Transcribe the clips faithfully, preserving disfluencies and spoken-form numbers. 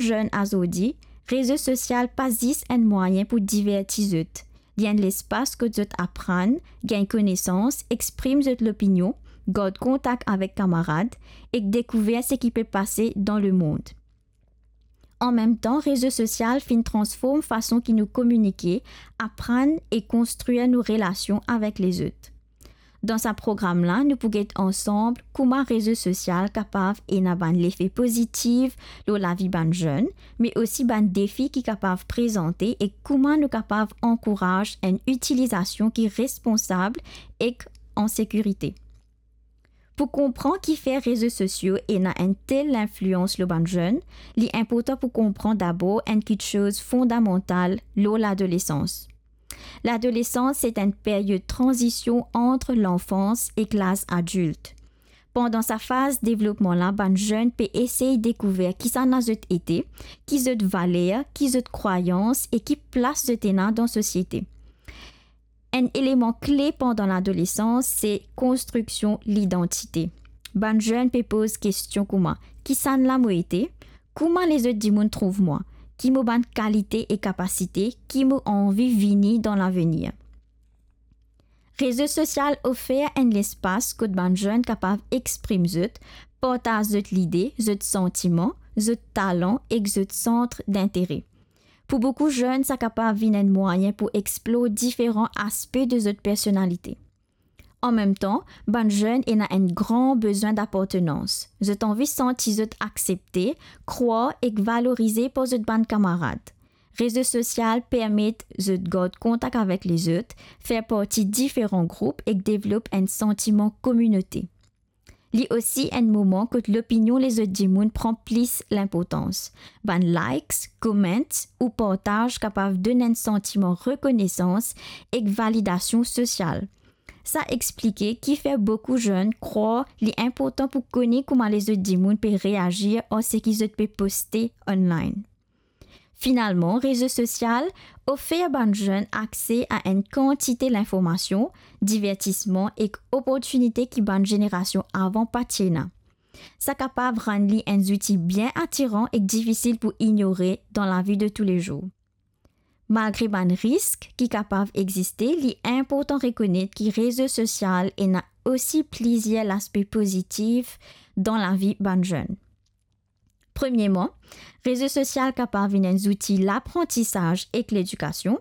zenn azordi, rezo sosial pa zis enn mwayin pou diverti zot. Li enn lespas kot zot aprann, gagn konesans, exprim zot lopinion, gard kontak avek kamarad ek dekouver seki pe pase dan lemond. An mem tan, rezo sosial finn transform fason ki nou kominike, aprann e konstrir nou relasion avek lezot. Dan sa program la, nou pou get ansam kouma rezo sosial kapav ena bann lefe pozitif lor lavi bann zenn, me osi bann defi ki kapav prezante e kouma nou kapav ankouraz enn itilizasion ki responsab ek an sekirite. Pou konpran kifer rezo sosio ena enn tel linflians lor bann zenn, li inportan pou konpran dabor enn kiksoz fondamantal lor ladolesans. Ladolesans, se enn period tranzision ant lanfans ek laz adilt. Pandan sa faz devlopman la, bann zenn pe esey dekouver kisannla zot ete, ki zot valer, ki zot krwayans e ki plas zot ena dan sosiete. Enn eleman kle pandan ladolesans, se konstriksion lidantite. Bann zenn pe poz kestion kouma, kisannla mo ete? Kouma lezot dimoun trouv mwa? Ki mo bann kalite e kapasite? Ki mo anvi vini dan lavenir? Rezo sosial ofer enn lespas kot bann zenn kapav exprim zot, partaz zot lide, zot santiman, zot talan ek zot sant dintere. Pou boukou zenn, sa kapav vinn enn mwayin pou explor diferan aspe de zot personalite. An mem tan, bann zenn ena enn gran bezwin dapartenans. Zot anvi santi zot aksepte, krwar ek valorize par zot bann kamarad. Rezo sosial permet zot gard kontak avek lezot, fer parti diferan group ek devlop enn santiman kominote. Li osi enn moman kot lopinion lezot dimoun pran plis linportans. Bann likes, comments ou partaz kapav donn enn santiman rekonesans ek validasion sosial. Sa explike kifer boukou zenn krwar li inportan pou kone kouma lezot dimoun pe reazir ar seki zot pe poste online. Finalman, rezo sosial ofer bann zenn akse a enn kantite linformasion, divertisman ek oportinite ki bann zenerasion avan pa ti ena. Sa kapav rann li enn zouti bien atiran ek difisil pou ignore dan lavi de toulezour. Malgre bann risk ki kapav existe, li inportan rekonet ki rezo sosial ena osi plizier laspe pozitif dan lavi bann zenn. Premierman, rezo sosial kapav vinn enn zouti laprantisaz ek ledikasion.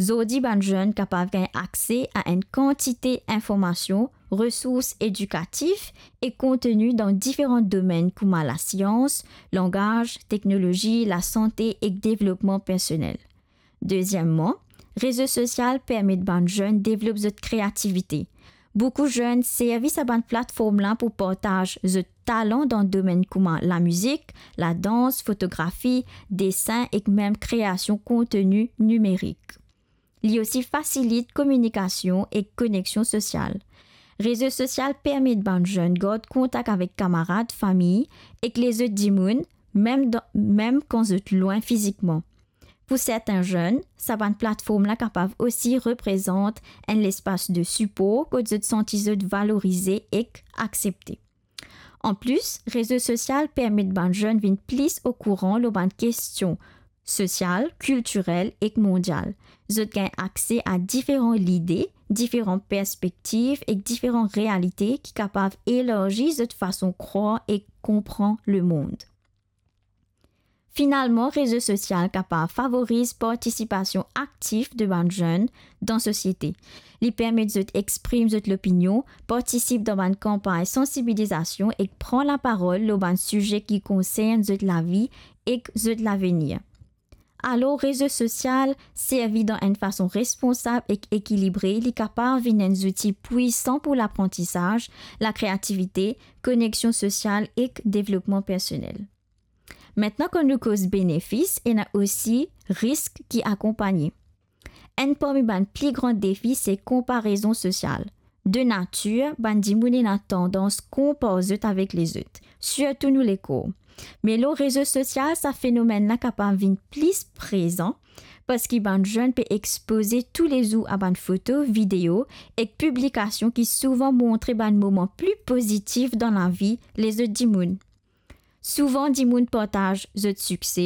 Zordi, bann zenn kapav gagn akse a enn kantite informasion, resours edikatif e konteni dan diferan domenn kouma lasians, langaz, teknolozi, lasante ek devlopman personel. Dezieman, rezo sosial permet bann zenn devlop zot kreativite. Boukou zenn servi sa bann platform la pou partaz zot talan dan domenn kouma lamizik, ladans, fotografi, desin ek mem kreasion konteni nimerik. Li osi fasilit kominikasion ek koneksion sosial. Rezo sosial permet bann zenn gard kontak avek kamarad, fami ek lezot dimoun, mem dan, mem kan zot lwin fizikman. Pou sertin zenn, sa bann platform la kapav osi reprezant enn lespas de sipor kot zot santi zot valorize ek aksepte. Anplis, rezo sosial permet bann zenn vinn plis okouran lor bann kestion sosial, kiltirel ek mondial. Zot gagn akse a diferan lide, diferan perspektiv ek diferan realite ki kapav elarzi zot fason krwar ek konpran lemond. Finalman, rezo sosial kapav favoriz partisipasion aktif de bann zenn dan sosiete. Li permet zot exprim zot lopinion, partisip dan bann kanpagn sansibilizasion ek pran laparol lor bann size ki konsern zot lavi ek zot lavenir. Alor, rezo sosial servi dan enn fason responsab ek ekilibre, li kapav vinn enn zouti pwisan pou laprantisaz, lakreativite, koneksion sosial ek devlopman personel. Aster kan nou koz benefis, ena osi risk ki akonpagne. Enn parmi bann pli gran defi se konparezon sosial. De natir, bann dimoun ena tandans konpar zot avek lezot, sirtou nou lekor. Me lor rezo sosial, sa fenomenn la kapav vinn plis prezan, parski bann zenn pe expoze toulezour a bann foto, video ek piblikasion ki souvan montre bann moman pli pozitif dan lavi lezot dimoun. Souvan dimoun partaz zot sikse,